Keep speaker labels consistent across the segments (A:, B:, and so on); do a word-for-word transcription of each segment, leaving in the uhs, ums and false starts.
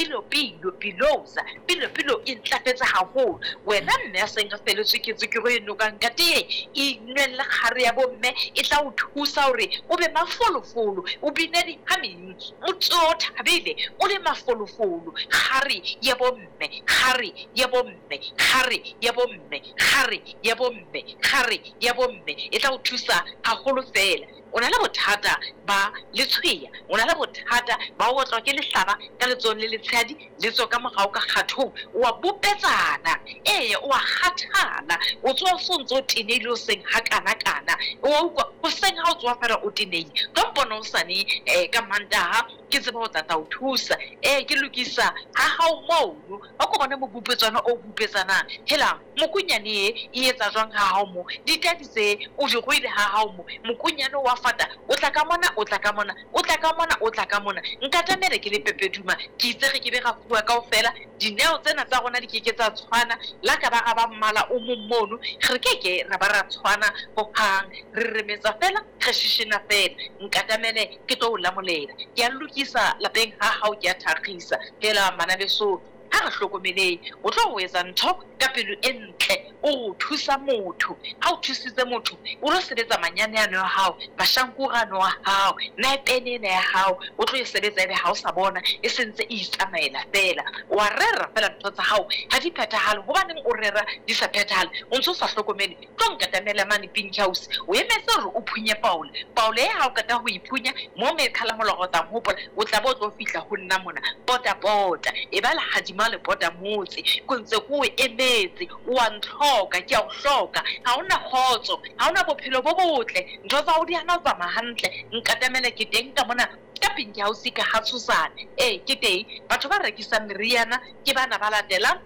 A: Pilo pilo pilosa pilo pilo e ntlafetse haholo. Wena mme a seng a feletswe ke tswekere e nokang ka tee, e inwella kgare ya bomme e tla o thusa hore o be mafolofolo, o bine dihameng, o tsohe o thabile, o le mafolofolo. Kgare ya bomme, kgare ya bomme, kgare ya bomme, kgare ya bomme, kgare ya bomme e tla o thusa haholo fela. O na le bothata ba letshweya, o na le bothata ba ho otlwa ke lehlaba ka letsohong le letshehadi, le tswe ka morao ka kgathong, o a bopetsana, ee o a kgathala, o tsoha o so ntso o tenehile hoseng hakana-kana, o a utlwa hoseng ha o tsoha fela o tenehile. Tlo mpona hosane um ka Mantaha ke tsebe ho tla tla o thusa. Ee ke lokisa ha hao mono, ha ko bone mobupetswana o bupetsanang. Helang mokonyane e e etsa jwang ha hao mo, ditadi tse o di ruile ha hao mo, mokonyane wa fata, o tla ka mona, o tla ka mona, o tla ka mona, o tla ka mona. Nkatamele ke le Pepeduma, ke itse re ke be ra fuwa kaofela. Dineo tsena tsa rona di keke tsa tshwana, la ka ba ra ba mmala o mong mono, re keke ra ba ra tshwana hohang. Re remetsa fela, re shishina fela. Nkatamele ke tlo o lamolela. Ke a lokisa lapeng ha hao, ke a thakgisa. Hela bana beso, ha re hlokomeleng, o tlo ho etsa ntho ka pelo e ntle, o thusa motho. Ha o thusitse motho, o lo sebetsa manyane ano a hao, mashankura ano a hao, naepene ena ya hao, o tlo e sebetsa ebe ha o sa bona, e sentse e itsamaela fela. Wa rera fela ntho tsa hao, ha di phethahale. Hobaneng o rera di sa phethahale? O ntso sa hlokomele. Tlo nkatamela mane Pink House, o emetse hore o phunye paole. Paole e ha o qeta ho e phunya, mo mekhala molora o tla hopola, o tla bo tlo fihla ho nna mona. Pota pota, e ba lehadima le pota motse. Ke ntse ke o emetse, o a ntlhoka, ke a o hloka. Ha hona kgotso, ha hona bophelo bo botle, ntho tsa hao di hana ho tsamaya hantle. Nkatamele ke teng ka mona ka Pink House ka ha Tshosane. Ee ke teng. Batho ba rekisang meriana ke bana ba latelang.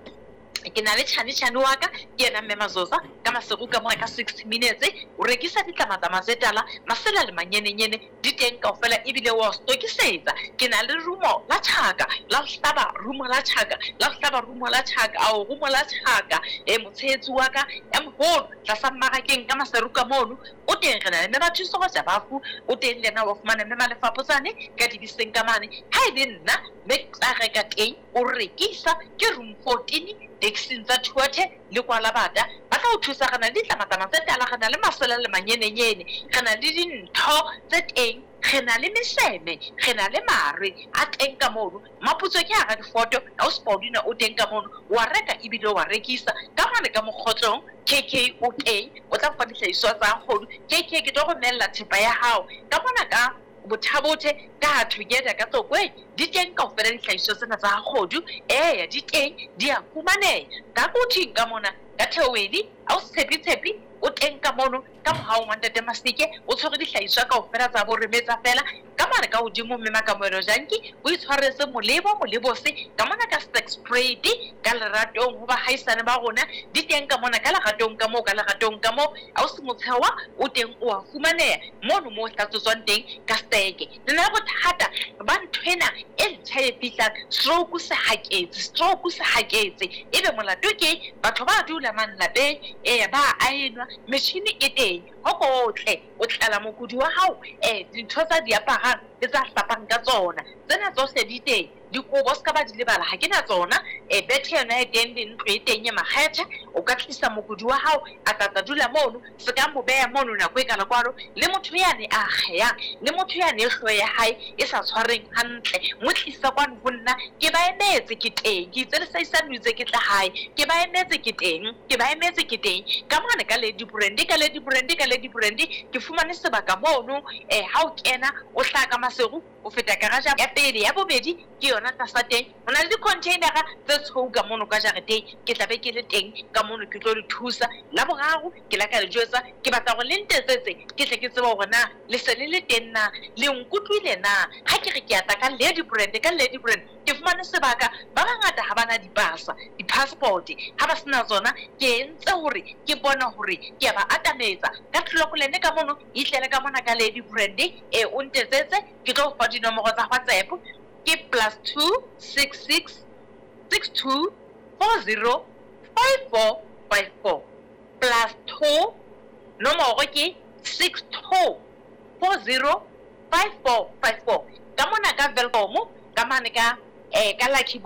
A: Ke na le tjhane tjhane wa ka, ke yena mme Mazoza ka Maseru ka mona ka sixty minutes. O rekisa ditlamatlama tse tala, masela le manyenenyene di teng kaofela, ebile wa stokisetsa. Ke na le rumo la tjhaka, la ho hlaba rumo la tjhaka, la ho hlaba rumo la tjhaka, ao rumo la tjhaka. E motshehetsi wa ka ya moholo tlasa mmarakeng ka Maseru ka mono o teng. Re na le mme Bathuso go Jabafu, o teng le yena wa fumana mme Malefapotsane ka dibeseng ka mane. Ha e le nna mme tla reka teng, o rekisa ke room fourteen taxing tsa Thuathe le Kwalabata. Ba tla o thusa. Re na le ditlamatlama tse tala, re na le masela le manyenenyene, re na le dintho tse teng, re na le meseme, re na le mare a teng ka mono. Maputso ke hara difoto, ausi Paulina o teng ka mono, wa reka ebile wa rekisa. Ka mane ka mokgotlong K K o teng, o tla fa dihlahiswa tsa kgodu. K K ke tlo romella thepa ya hao ka mona ka Bothabothe ka Together ka Tlokweng. Di teng kaofela dihlahiswa tsena tsa kgodu. Eya di teng, di a fumaneha ka Kuthing ka mona ka Theowedi. Ausi Tshepi Tshepi o teng ka mono ka mohau wa Ntate Masike, o tshwere dihlahiswa kaofela tsa bo remetsa fela. Ka mane ka hodimo mme Makamoelo Janki o itshwaretse molebo molebose ka mona ka Stax Trade ka leratong ho bahaisane ba rona. Di teng ka mona ka leratong ka moo, ka leratong ka moo. Ausi Motshewa o teng, o a fumaneha mono moo hlatswetswang teng ka steke. Le na le bothata ba nthwena e ntjha e fihlang, stroke se haketse, stroke se haketse. Ebe molato ke batho ba dula mane lapeng, ee ba aenwa, metjhini e teng, ho kotle o tlala mokudi wa hao, eh dintho tsa di aparang le tsa hlapang ka tsona, tsena tsohle di teng. Dikobo se ka ba di lebala, ha ke na tsona. Eh bethe yona e teng le ntlo e teng e makgethe. O ka tlisa mokudi wa hao a tla tla dula mono, se ka mo beha mono nako e kana kwalo. Le motho yane a akgehang, le motho yane e hlooho ya hae e sa tshwareng hantle, mo tlisa kwano ho nna. Ke ba emetse ke teng, ke itse le saisane o itse ke tla hae, ke ba emetse ke teng, ke ba emetse ke teng. Ka mane ka Lady Brandy, ka Lady Brandy, ka Lady Brandy ke fumane sebaka mono. Eh ha o kena o hlaha ka Maseru, o feta garage ya pele, ya bobedi ke yona tlasa teng. Ho na le di-containera tse tshweu ka mono ka jareteng, ke tla be ke le teng ka mono ke tlo le thusa. La boraro ke la ka le jwetsa, ke batla hore le ntetsetse ke tle ke tsebe hore na le se le le teng na, le nkutlwile na. Ha ke re ke a tla ka Lady Brand, ka Lady Brand ke fumane sebaka. Ba bangata ha bana dipasa, di-passport ha ba sena tsona, ke entse hore ke bona hore ke a ba atametsa ka Tlolokolene ka mono. Itlele ka mona ka Lady Brand, e o ntetsetse ke tlo fa dinomoro tsa WhatsApp ke plus two six six six two four zero five four five four, plus two nomoro ke six two four zero five four five four. Ka mona ka Welkom ka mane ka eh ka Lucky Boy.